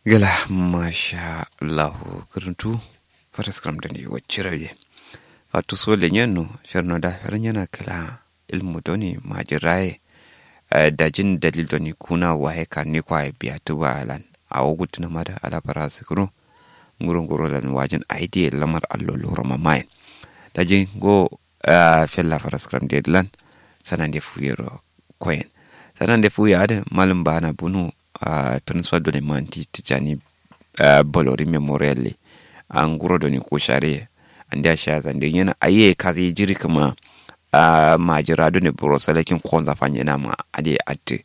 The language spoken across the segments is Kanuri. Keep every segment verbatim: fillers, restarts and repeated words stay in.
Gla masha allahu kǝrǝntu. Faraskǝram done waccirau ye. Fatu so lenyenno ferno da fernena kǝla. Ilmu done majiraye. Dajin dalil done kuna waye kanne kwaye biya tǝba lan. Awo gultǝna ma da ala faraskǝro. Nguro nguro lan wajin ayi diye lamar allo loro mamayen. Dajin ngo fella faraskǝram de lan. Sanande fuyero koyen. Sanande fuye adǝ malum bana bunu. Principal done manti tijani. Bolori memorial le. Anguro done koshare. Ande asha zande nyena aye kazi jiri kuma. Majira done buro salakin konza fanyena ma ade atte.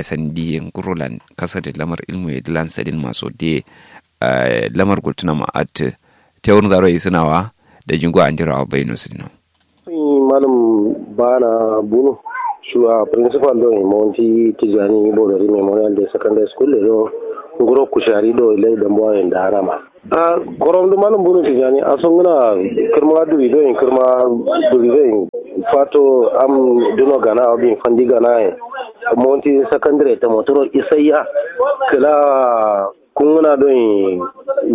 Sandi nguro lan kasa de lamar ilmu ye de lan sadin maso de. Lamar gultuna ma atte. Tewur zaro isinawa. Da jingo andiro awa bayino sidino. Malum bana bunu shuwa principal do monti tijani bolori memorial day secondary school le do. Nguro kushari do lai dambuwa yin da harama. A korom du malum bunu tijani aso nguna. Kirma duri do yin kirma duri do yin fato am duno gana abin fandi gana yin. Monti secondary ta motoro isaiya kila. Kunguna don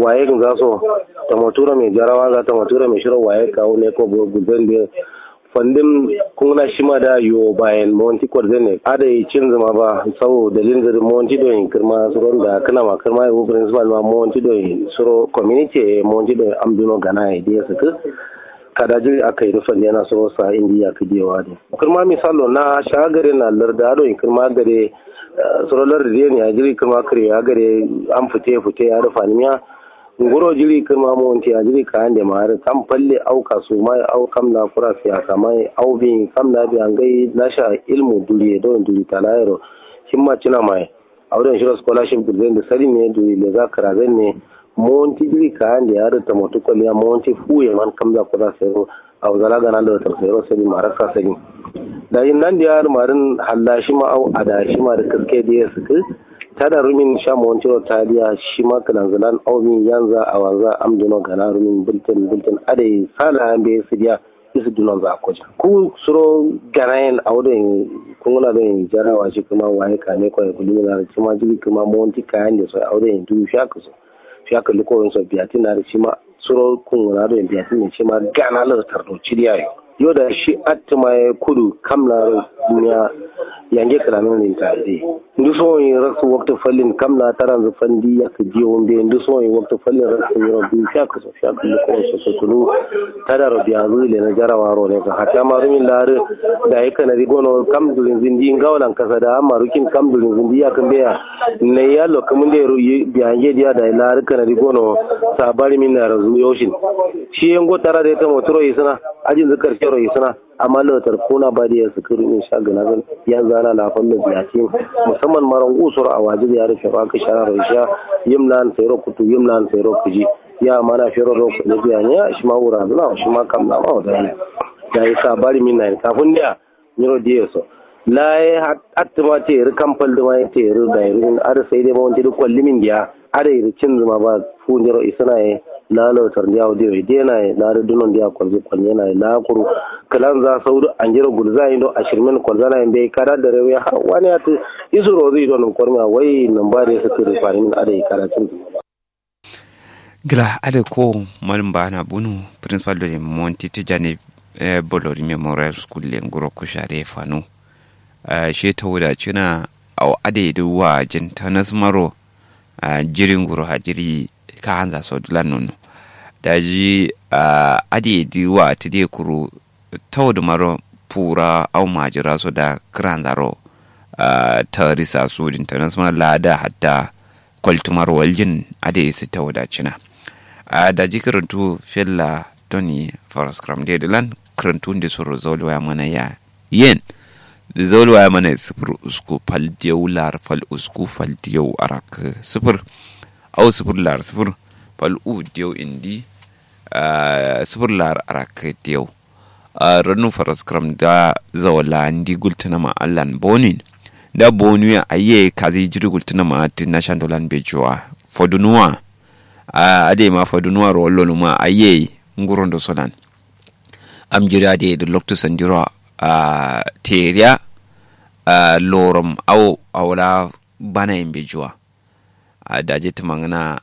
waye kin zaso. Tamatura mai jarawa za tamatura mai shiro waye kawo ne ko bo guzan de. Fandin kunguna shima da yo bayan monti kwarzen ne ada yi cin zuma ba. Sau dalilin zari monti don kirma suron da kana ma kirma yi principal ma monti don suro community monti don amduno gana ya diya su. Kada jiri aka yi rufan yana suro sa indi ya kidi yawa de. Kirma misalo na shagare na larda don kirma gare. Suro lardi de ne a jiri kirma kare a gare. An fite fite ya rufa ni miya. Nguro jiri kirma monti a jiri kayan de ma har kam falle au kasu mai au kam na kura siyasa mai au bin kam na bi angai nasha. Ilmu duriye don duri talayero. Himma cina mai. Auden shiro scholarship gulzen de sadin ne duri leza karazen ne. Monti jiri kayan de ya har tamotu kwaliya monti fuye man kamza kura sero. Au zala gana lotar sero sadin ma rakka sadin. Daji nan de ya har marin halla shima au ada shima da kaske de ya suku. Tada rumin sha montiro tadiya shima kilanzilan au min yanza awanza amduno gana rumin bultin bultin adai sala ambe sidiya. Isu dunon za a kojin ku suro gana yin auden. Kunguna don jarawa shi kuma waye kane kwaye kulimin har shima jiri kuma monti kayan de so auden du fiya kuso. Fiya kalli koyon so biyatin har shima suro kunguna don biyatin ne shima gana lotar do cidiya yo. Yo da shi attima ya kudu kam laro duniya. Yange kalamin rinta de ndu so yin raksu waktu fallin kam la taranzu fandi ya ka diyo mbe ndu so yin waktu fallin raksu yiro bi fiya kuso. Fiya kalli koyon so so kulu. Tada ro biya zu le na jarawa ro ne so hatta ma rumin laro. Da ya kana di gono kam durin zindi ngawalan kasa da amma rukin kam durin zindi ya kan beya. Ne ya lo kamun de ru biya nge diya da laro kana di gono. Sabari min na razu yoshin. Shi yango tara da ya tamo turo isina. Ajin zikar shero isina. Amma lotar kuna ba da ya sukuru in sha gana zan yan zana na fallo biya ce. Musamman maran usur a waje da ya rufe ba ka shara ro isha. Yim lan sairo kutu yim lan sairo kuji. Ya mana fero ro kuji biya ne shi ma wura zuna shi ma kam na ma wata ne. Da ya sabari min na kafin da nyiro diye so. Laye attima teri kam paldi ma teri dairin ar sai dai ma wonti duk kwallimin diya. Ar iri cinzuma ba fu nyiro isina ye. La lotar ndiya wudi wai dena ye la dunon ndiya kwalzi kwalnyena ye la kuru. Kilan za saudu anjiro gulza indo ashirmin kwalzana ye mbe kada dare wai har wani atu. Isu rozu ido num kormiya wai num ba de sukuri fanimin adai kada cinzuma ba. Gla adǝ ko malǝm baana bunu principal done monti tǝjane. Bolori memorial school le nguro kushare fanu. She tawuda cǝna awo adǝ ye dǝ wajin tanasmaro. Jiri nguro ha jiri kahanza so dǝlan nono. Daji adǝ ye dǝ watǝ dǝ ye kuru tawudǝ maro pura au majira so da kǝranzaro. Tarisa sudin tanasmaro lada hatta. Kwaltǝmar waljin adǝ ye sǝ tawuda cǝna. Daji kǝrǝntu fella done faraskǝram dǝ ye dǝlan kǝrǝntu nde soro zaul waya mana ya. Yen zaul waya mana ye sǝfur usku fal diyau lar fal usku fal diyau arak sǝfur. Au sǝfur lar sǝfur fal u diyau indi. Sǝfur lar arak diyau. Rannu faraskǝram da zawala ndi gultǝnama allan bonuin. Da bonuya ayye kazi jiri gultǝnama attǝ nashan dolan bejuwa. Fodunuwa. Adai ma fodunuwa ro wallo numa ayye. Ngurondo solan. Am jiri adai dǝ loktu sandiro. Teriya. Lorom awo awola banayin bejuwa. Daji tǝmangǝna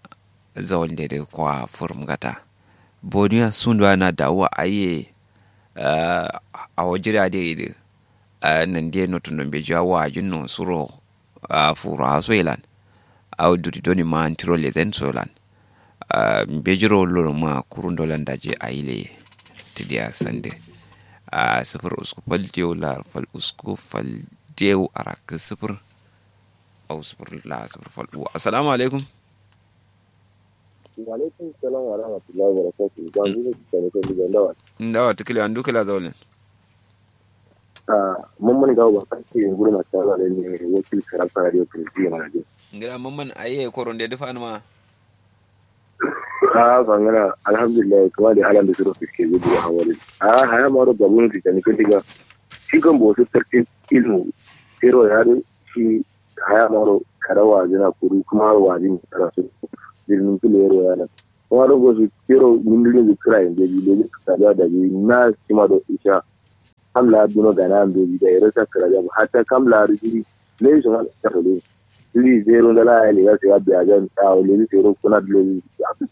zawalde dǝ kwa fǝrǝm gata. Boniya sunduwa na dawuwa aiye. Awo jiri adǝ ye dǝ. Nandiye notundo mbejiwa wajinno suro. Furawa so ye lan. Awo duri doni ma antiro lezen so ye lan. Mbejiro loroma kurundo lan daji aile. Tǝdiya sande. Sǝfur usku fal diyo lar fal usku fal diyo arakkǝ sǝfur. Au sǝfur la sǝfur fal uwa assalamu alaikum. Wa'alaikum salam wa rahmatullahi wa barakatuhu. Ba ndu ne kane kan diga ndawa. Ndawa tukula ndu kula zaulin. Ah, mamman gawo ba kan ce nguru ma ta zale ne wakil karanta radio presidio mana din. Ngira mamman aye koron da dufa ma. Ah, bangana alhamdulillah kuma da alam da suro fiske gudu a hawali. Ah, haya maro babun fitani kan diga. Shi kan bo su tartin ilmu. Sero ya do shi haya maro kada wazina kuru kuma wazin rasu. Birnin kulero yana. Kuma do gosu kero mindulin zikira inde bi leji kada da bi na sima do isha. Kam la duno gana ambeji da ero sa kira jam hatta kam la rijiri. Leji suma da fole. Leji zero da la ya lega sai ya biya jam ta leji zero kuna leji.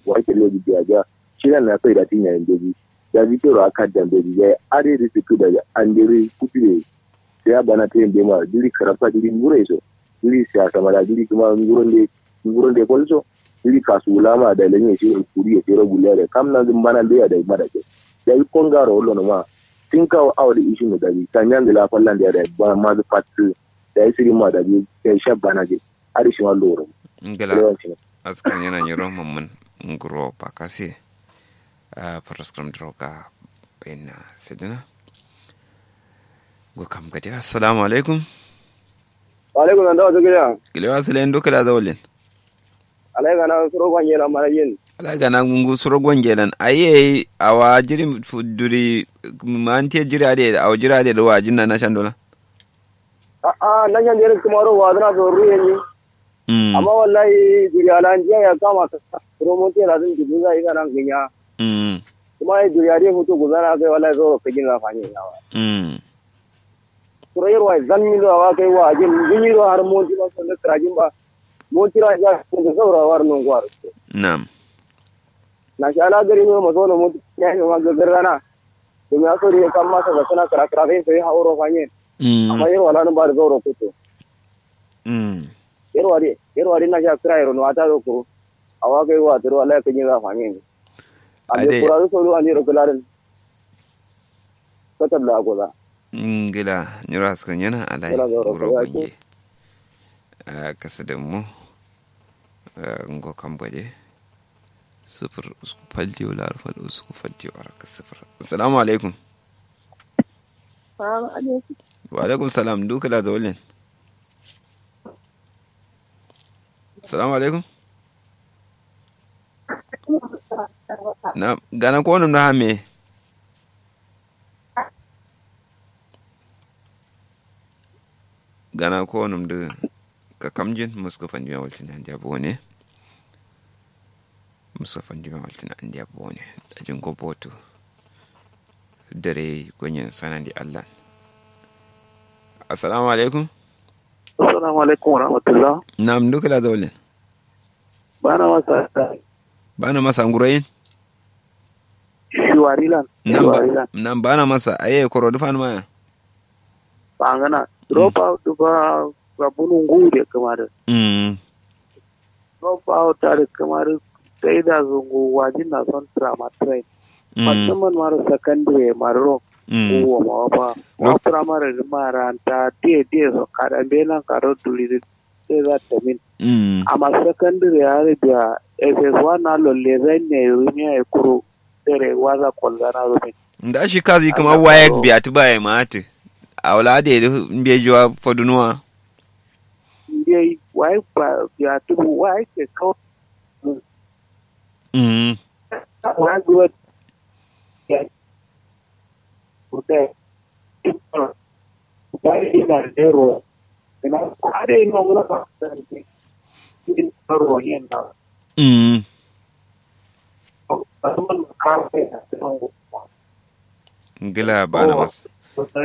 Wake leji biya jam. Shi na sai da tinya ambeji. Da bi kero aka da ambeji da ade ri siku da. Andere kutire. Sai ya bana te mbe ma jiri karabka jiri ngure so. Jiri siyasa ma da jiri kuma nguro nde nguro nde fal so. Jiri kasu wulama da lenye shiro kuri ya shiro guliya da kam na zin bana mbe ya da ma da ke. Da yi kongaro wolo no ma. Tin kawo awo da ishi mu da yi sanya ngila fallan da ya da ba ma zu fatu. Da yi siri ma da yi da yi sha bana je. Adi shi ma loro. Ngila. Lewan shi ma. Askan yana nyiro mamman nguro pakase. Paraskram droga baina sidina. Go kam gade assalamu alaikum. Wa alaikum salam dawa tukila. Kilewa silen dukila zaulin. Alai gana suro gwangelan mana yin. Alai gana gungu suro gwangelan aye awa jiri duri. Mante jiri ade awa jiri ade da wa jinna na shandola. A'a na shan jiri kuma ro wa zana so ruye ni. Amma wallahi duri alanjiya ya kama ka. Suro monte la zan jibu za ina nan ginya. Kuma ya duri ade mutu guzana kai wallahi zo ka gina fanye yawa. Kura yarwa zan min do awa kai wa ajin min yi do har monti ma so ne krajin ba. Monti ra ya ko da saura war non gwar. Nam. Na sha ala gari no maso no monti ya yi ma gagar rana. To me aso de kam ma sa suna kra kra sai sai hauro fanye. Amma yarwa la no ba da sauro kuto. Yarwa de yarwa de na sha kra yaro no ata do kuro. Awa kai wa turo ala kai ni za fanye. Ande kura so do ande ro kularin. Katab la agoza. Ngila nyiro askar nyana alai. Wuro gonge. Kasa da mu. Ngo kam gwaje. Sufur usku faldiyo lar fal usku faldiyo araka sufur. Assalamu alaikum. Wa alaikum salam dukala zaulin. Assalamu alaikum. Na gana ko num da hame. Gana ko num da. Ka kamjin musko fandima waltin andiya bone. Musko fandima waltin andiya bone. Ajin ko botu. Dare gonyen sanandi allah. Assalamu alaikum. Assalamu alaikum wa rahmatullah. Nam dukala zaulin. Bana masa. Bana masa ngurayin. Shuwarilan. Shuwarilan. Nan bana masa aye koro dufan maya. Bangana drop out dufa. Rabunu ngu de kamar. Mm. Drop out are kamar. Sai da zungu wajin na son trauma train. Musamman mara secondary mara rock. Uwa ma wafa wa primary maranta diye diye so kada mbelan karo duri. Sai za ta min. Amma secondary ya ribiya ss one na lolle zan ne rumiya ya kuro. Dare waza kolzana rumin. Nda shi kazi kuma waye biya ti baye ma ati. Awla de mbejuwa fodunuwa. Mbeyi waye biya ti waye ke kawo. Mm. Waye biya. Mm. Ngila bana mas.